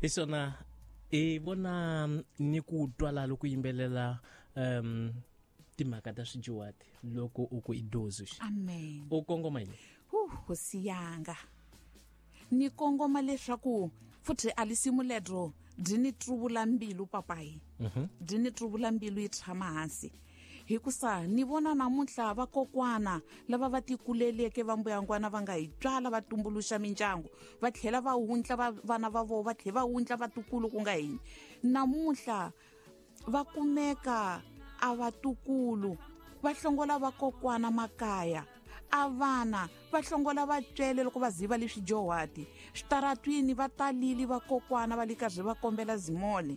Hi swona hi vona ni ku twala loko yimbelela timhaka ta swijuwati loko u ku i dozi. Amen. U kongoma yini? Hosi yanga, ni kongoma leswaku futhi a lisimu ledro byi ni truvula mbilu papayi. Byi ni truvula mbilu yi tshama hansi. Hikusa ni vona namuntlha vakokwana lava va tikuleleke va mbuyangwana va nga hi tswala va tumbuluxa mindyangu, va tlhela va wundla vana va vona, va tlhela va wundla vatukulu ku nga hina. Namuntlha va kumeka a vatukulu va hlongola vakokwana makaya, a vana va hlongola vatswele loko va ziva leswi johwati. Switaratwini va talile vakokwana va le karhi va kombela zimole,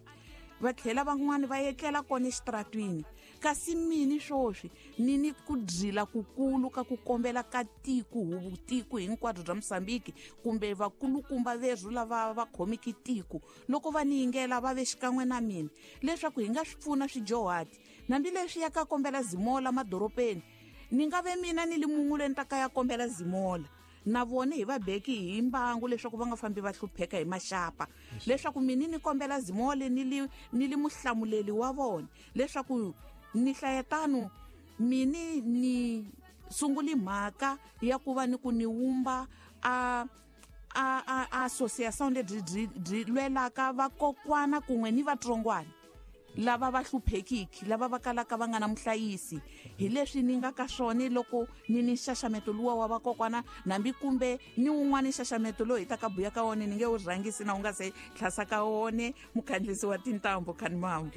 va tlhela van'wani va etlela kona exitaratwini. Kasi mini swoswi ni ni ku dzila kukulu ka ku kombela ka tiko, huvu tiko hinkwabyo bya Mozambique kumbe vakulukumba verhu lava va khomiki tiko, loko va ni yingela va ve xikan'we na mina leswaku hi nga swi pfuna swijohati. Hambileswi ya ka kombela zimola madorobeni, ni nga ve mina ni li mun'we loyi ni ta ka ya kombela zimola, na vona hi va beki hi mbangu leswaku va nga fambi va hlupheka hi maxapa, leswaku mina ni kombela zimole ni li muhlamuleli wa vona, leswaku ni hlayetano mini ni sunguli mhaka ya ku va ni ku ni wumba a association lebyi byi lwelaka vakokwana kun'we ni vatsongwana lava va hluphekiki, lava va kalaka va nga na muhlayisi. Hi leswi ni nga ka swona loko ni ni nxaxameto luwa wa vakokwana, nambi kumbe ni wun'wana nxaxameto lowu hi ta ka buya ka wona, ni nge wu rhangisi na wu nga se tlhasa ka wona mukhandlisi wa tintambu Khanimambo.